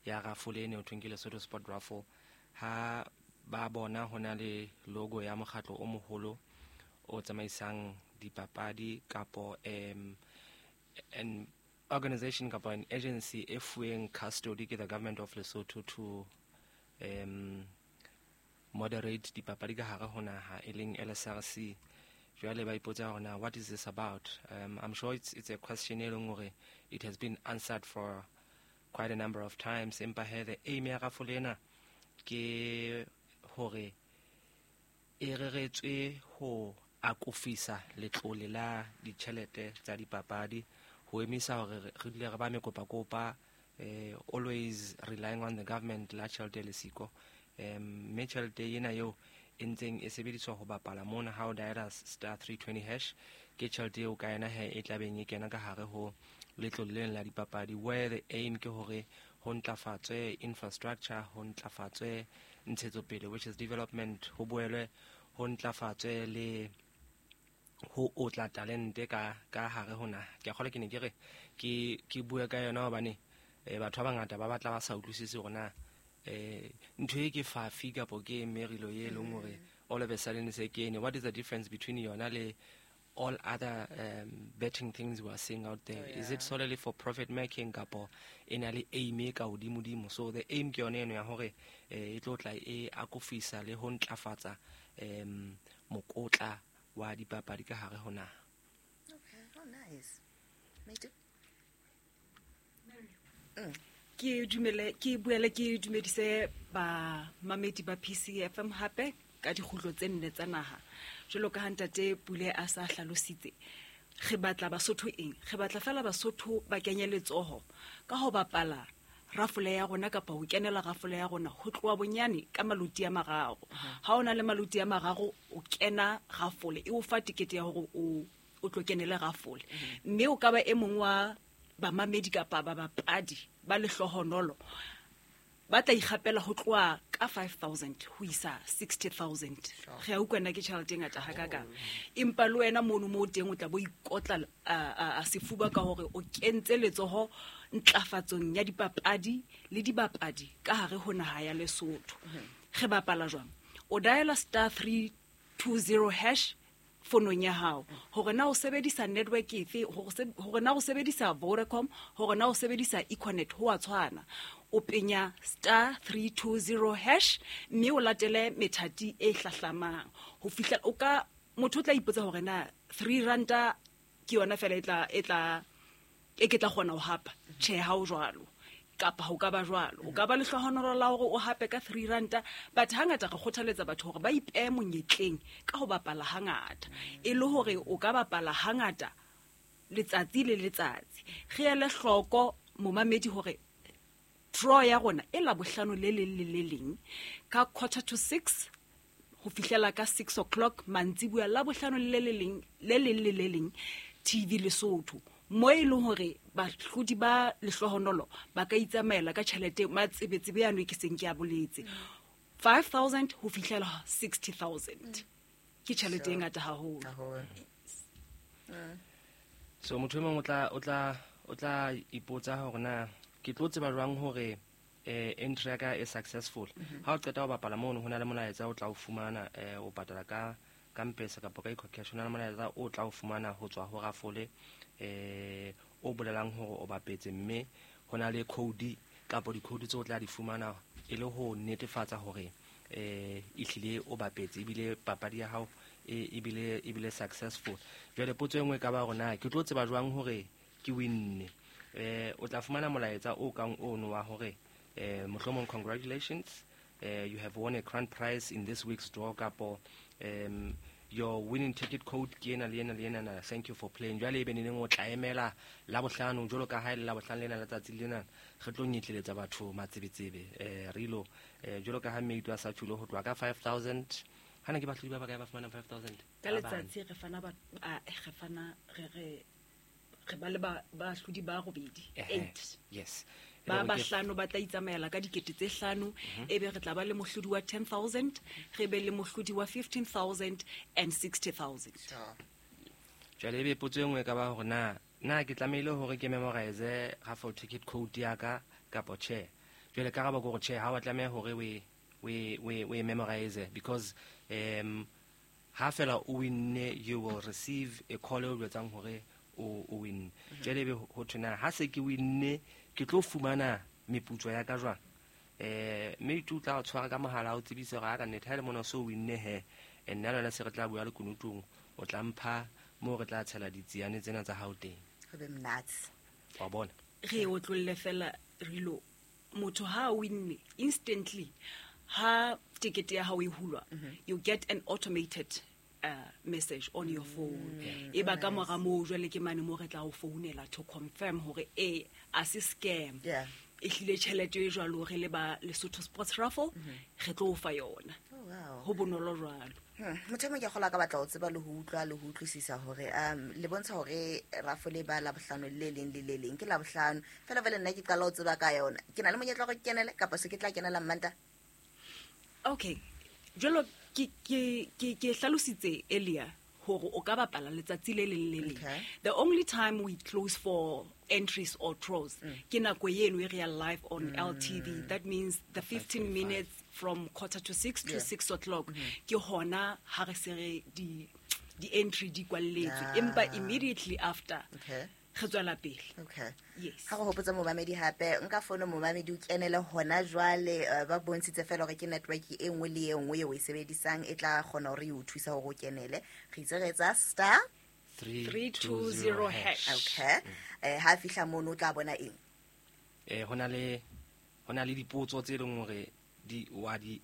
Ya raffle ene ho thweng ke Lesotho Sport Raffle. Ha ba bona ho na le logo ya mokgatlo o moholo o tsamaisang dipapadi kapo an organization kapo an agency e fuweng custody ke the government of Lesotho to moderate dipapadi ka hare ho naha, e leng LSRC, jwale ba ipotsa hore na what is this about. I'm sure it's a question e leng hore it has been answered for quite a number of times, empa he, the aim ya raffle ena ke hore e reretswe ho akofisa letlole la ditjhelete tsa dipapadi, ho emisa hore re dule re ba mekopakopa, always relying on the government la tjhelete le siko, mme tjhelete ena eo e ntseng e sebediswa ho bapala mona ha o diala *320#, ke tjhelete eo ka yona he e tlabeng e kena ka hare ho letlole lena la dipapadi, where the aim ke hore ho ntlafatswe infrastructure, ho ntlafatswe ntshetsopele, which is development, ho boelwe ho ntlafatswe le ho otla talente ka hare ho naha. Ke a kgolwa ke ne ke re ke bue ka yona hobane batho ba bangata ba batla ba sa utlwisise hore na ntho e ke fafi kapo ke merilo e leng hore all of a sudden se kene. What is the difference between yona le all other betting things we are seeing out there? Is it solely for profit making kapo e na le aim e ka hodimo-dimo? So the aim ke yone eno ya hore e tlo tla e akofisa le ho ntlafatsa mokotla wa dipapadi ka hare ho naha. Okay. Oh, nice. Me too. Ke dumele, ke buele, ke dumedise bamamedi ba PCFM hape ka dikgutlo tse nne tsa naha. Jwalo ka ha ntate Pule a sa hlalositse, re batla Basotho eng? Re batla fela Basotho ba kenye letsoho ka ho bapala rafole ya rona kapa ho kenela rafole ya rona ho tloha bonyane ka maloti a mararo. Ha o na le maloti a mararo, o kena rafole, e o fa tikete ya hore o tlo kenele rafole, mme o ka ba e mong wa bamamedi kapa babapadi ba lehlohonolo ba tla ikgapela ho tloha ka 5000 ho isa 60 000. Re a utlwa nna ke tjhelete e ngata hakakang, empa le wena mono mo o teng o tla bo ikotla a sefuba ka hore o kentse letsoho ntlafatsong ya dipapadi le dibapadi ka hare ho naha ya Lesotho. Re bapala jwang? O diala *320# fonong ya hao, hore na o sebedisa network efe, hore na o sebedisa Vodacom, hore na o sebedisa Econet, ho a tshwana. O penya *320#, mme o latele methati e hlahlamang ho fihla o ka motho o tla ipotsa hore na 3 ranta ke yona fela e tla e ke tla kgona ho hapa. Tjhe, ha o jwalo, kapa ho ka ba jwalo, o ka ba lehlohonolo la hore o hape ka 3 ranta, but hangata re kgothaletsa batho hore ba ipehe monyetleng ka ho bapala hangata, e le hore o ka bapala hangata letsatsi le letsatsi. Re ele hloko, momamedi, hore draw ya rona e Labohlano le leng le le leng ka 5:45 ho fihlela ka 6 o'clock mantsibuya, Labohlano le le leng le leng le le leng, TV Lesotho, mo e leng hore bahlodi ba lehlohonolo ba ka itsamaela ka tjhelete matsebetsebe yano e ke seng ke a boletse, 5000 ho fihlela 60 000. Ke tjhelete e ngata haholo. Haholo. So motho e mong o tla ipotsa hore na ke tlo tseba jwang hore entry ya ka e successful. Ha o qeta ho bapala mono, ho na le molaetsa o tla o fumana, o patala ka M-Pesa kapa ka EcoCash, ho na le molaetsa o tla o fumana ho tswa ho rafole o bolelang hore o bapetse, mme ho na le code kapa di-code tse o tla di fumana e le ho netefatsa hore ehlile o bapetse ebile papadi ya hao ebile successful. Jwale potso e nngwe e ka ba hore na ke tlo tseba jwang hore ke winne. O tla fumana molaetsa o kang ono wa hore mohlomong "Congratulations, you have won a grand prize in this week's draw" kapo "Your winning ticket code ke ena le ena le ena na, thank you for playing." Jwale ebe neneng o tla emela Labohlano, jwalo ka ha e le Labohlano lena, letsatsi lena re tlo nyetleletsa batho matsebetsebe, rilo jwalo ka ha meito a sa tjholo ho tloha ka 5000. Hana ke bahlodi ba bakae ba fumanang 5000? Ka Ba bane. Letsatsi re fana ba re fana re ba le bahlodi ba robedi. Eight. Yes. E Ba le hore bahlano ba tla itsamaela ka 5 000, ebe re tla ba le mohlodi wa 10 000, re be le mohlodi wa 15 000 and 60 000. Jwale ebe potso e nngwe e ka ba hore na ke tlamehile hore ke memorize raffle ticket code ya ka kapo tjhe. Jwale karabo ke hore tjhe, ha wa tlameha hore we memorize, because ha fela o winne, you will receive a call e o jwetsang hore o winne. Jwale ebe ho thwe na ha se ke winne ke tlo fumana meputso ya ka jwang? Mme o tla o tshwara ka mohala o tsebise hore ha ka nnete ha le mona o so winne he, nna le wena se re tla bua lekunutung, o tla mpha moo re tla tshela ditsiane tsena tsa hao teng. Ho be monate. Wa bona? Re otlolle fela rilo, motho ha o winne instantly ha tekete ya hao e hulwa, you get an automated message on your phone. E ba ka mora moo jwale ke mane mo re tla o founela to confirm hore e a se scam. E hlile tjhelete e jwalo re le ba Lesotho Sports Raffle, re tlo o fa yona. Oh, wow. Ho bonolo jwalo. Motho e mong ke kgolwa ka batla ho tseba le ho utlwa le ho utlwisisa hore le bontsha hore raffle e ba Labohlano le leng le le leng, ke Labohlano fela fela nna ke qala ho tseba ka yona, ke na le monyetla wa hore ke kenele kapa se ke tla kenela Mmanta? Okay, jwalo ke hlalositse earlier hore o ka bapala letsatsi le leng le leng. The only time we close for entries or draws ke nako eno e re ya live on LTV. That means the 15 minutes from 5:45 to 6 o'clock. Ke hona ha re se re di entry di kwalletswe. Empa immediately after, re tswela pele. Yes. Ha go hopotsa momamedi hape, nka fono momamedi o kenele hona jwale, ba bontshitse fela hore ke network e nngwe le e nngwe eo o e sebedisang e tla kgona hore e o thusa hore o kenele. Re itse re etsa star 320 hash. Okay. Ha fihla mono o tla bona eng? Hona le dipotso tse leng hore di wa di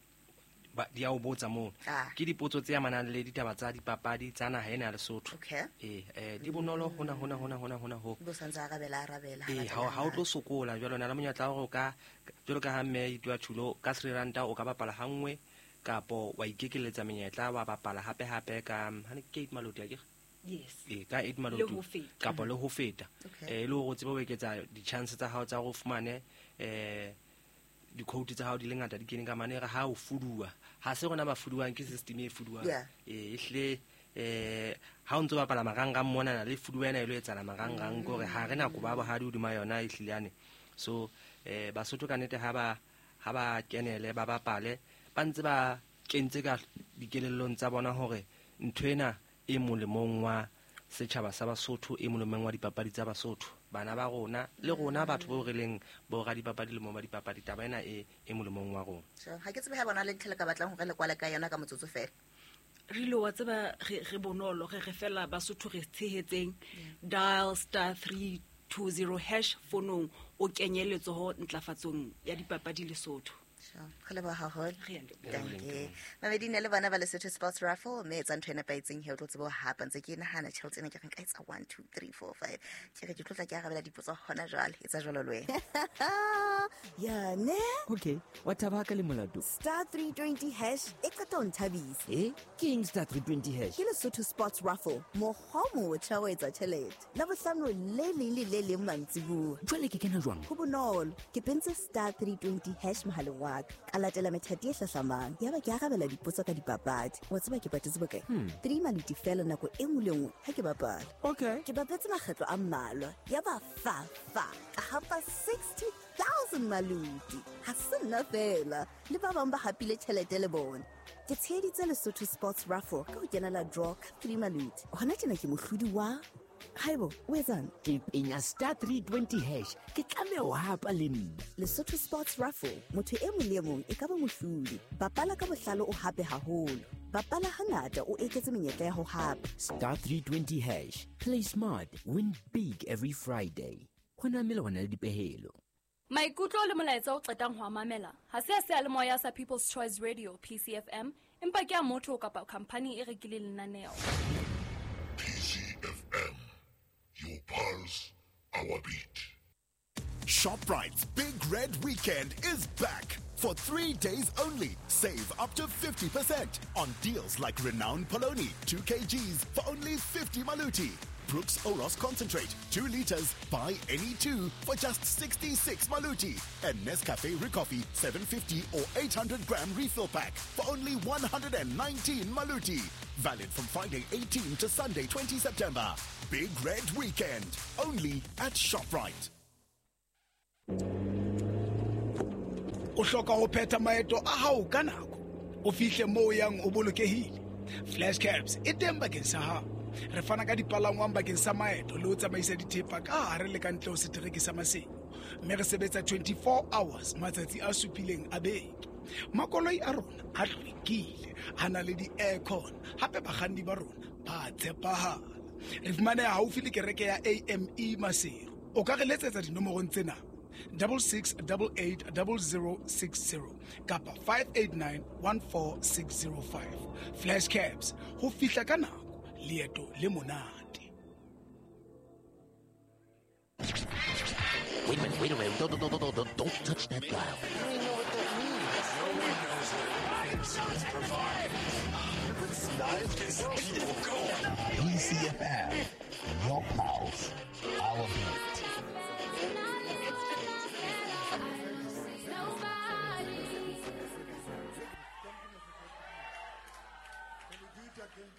ba, di a o botsa mono. Ke dipotso tse amanang le ditaba tsa dipapadi tsa naha ena ya Lesotho. Di bonolo hona, hona, hona, hona, hona ho. Bo santse arabela, arabela, ha batla Ha o hana. tlo sokola jwalo, na le monyetla wa hore o ka, jwalo ka ha mme Ituwa Thulo, ka 3 ranta o ka bapala ha nngwe, kapo wa ikekeletsa menyetla wa bapala hape hape ka, ha ne ke 8 maloti akere? Yes. Ka 8 maloti. Le ho feta. Kapo le ho feta. Le hore o tsebe ho eketsa di-chance tsa hao tsa hore o fumane, di-quote tsa hao di le ngata di kene ka mane, re ha o fuduwa. Ha se rona ba fuduwang, ke system e fuduwang. Ehlile, ha o ntso bapala marangrang monana, le fuduwa ena e lo etsahala marangrang, ke hore ha re nako ba bohadi hodima yona ehlile yane. So, Basotho ka nnete ha ba kenele, ba bapale, ba ntse ba kentse ka dikelellong tsa bona hore ntho ena e molemong wa setjhaba sa Basotho, e molemong wa dipapadi tsa Basotho. Bana ba rona le rona batho bao re leng bo radipapadi le mo ba dipapadi, taba ena e molemong wa rona. Sure. Ha ke tsebe ha bona le ntho le ka batlang hore le kwale ka yona ka motsotso fela. Re ile wa tseba re bonolo, re fela Basotho re tshehetseng. Dial star 320 hash fonong o kenye letsoho ntlafatsong ya dipapadi Lesotho. Sure. Re leboha haholo. Re a leboha. Thank you. Mamedi ne le bona ba Lesotho Sports Raffle, mme etsa ntho e nepahetseng he o tlo tseba ho hapa. Ntse ke nahana tjhelete ena ke re nka etsa 1, 2, 3, 4, 5. Ke re ke tlo tla ke arabela dipotso hona jwale. Etsa jwalo le wena. Ya ne? Okay, wa thaba ka le molato. Star 320 hash e qeta ho nthabisa. Ke eng star 320 hash? Ke Lesotho Sports Raffle, mokgwa o motjha wa ho etsa tjhelete. Labohlano le leng le le leng mantsibuya. Jwale ke kena jwang? Ho bonolo. Ke pentse star 320 hash mohaleng wa ka. Ka latela methati e hlahlamang. Yaba ke arabela dipotso ka dipapadi. Wa tseba ke patetse bokae? 3 maluti fela nako e nngwe le nngwe ha ke bapala. Ke bapetse makgetlo a mmalwa. Yaba fa, fa. Ka hapa 60,000 maluti. Ha se nna fela. Le ba bang ba hapile tjhelete le bona. Ke tsheheditse Lesotho Sports Raffle ka ho kenela draw ka 3 maluti. Hona tjena ke mohlodi wa Haibo, o etsang? Ke penya star 320 hash. Ke tlameha ho hapa le nna. Lesotho Sports Raffle, motho e mong le e mong e ka ba mohlodi. Bapala ka bohlale o hape haholo. Bapala hangata o eketse menyetla ya ho hapa. Star 320 hash. Play smart, win big every Friday. Ho na melawana le dipehelo. Maikutlo le molaetsa o qetang ho a mamela ha se a seyalemoya sa People's Choice Radio PCFM, empa ke a motho kapa khampani e rekileng lenaneo. PCFM, your pulse, our beat. ShopRite's Big Red Weekend is back. For 3 days only, save up to 50% on deals like Renown Poloni, 2 kgs for only 50 maluti. Brooks Oros Concentrate, 2 liters, buy any 2 for just 66 maluti. And Nescafe Ricoffy, 750 or 800 gram refill pack for only 119 maluti. Valid from Friday 18 to Sunday 20 September. Big Red Weekend, only at ShopRite. O hloka ho phetha maeto a hao ka nako, o fihle moo o yang o bolokehile. Flash Cabs e teng bakeng sa hao. Re fana ka dipalangwang bakeng sa maeto le ho tsamaisa dithepa ka hare le ka ntle ho setereke sa Maseru, mme re sebetsa 24 hours matsatsi a supileng a beke. Makoloi a rona a hlwekile, a na le di-aircon, hape bakganni ba rona ba tshepahala. Re fumaneha haufi le kereke ya AME Maseru. O ka re letsetsa dinomorong tsena: 66880060 kapa 58914605. Flash Cabs, ho fihla ka nako, leeto le monate. Wait a minute, wait a minute. Don't, don't, don't, don't, don't touch that dial. PCFM, your pulse, our beat. Can we do it again?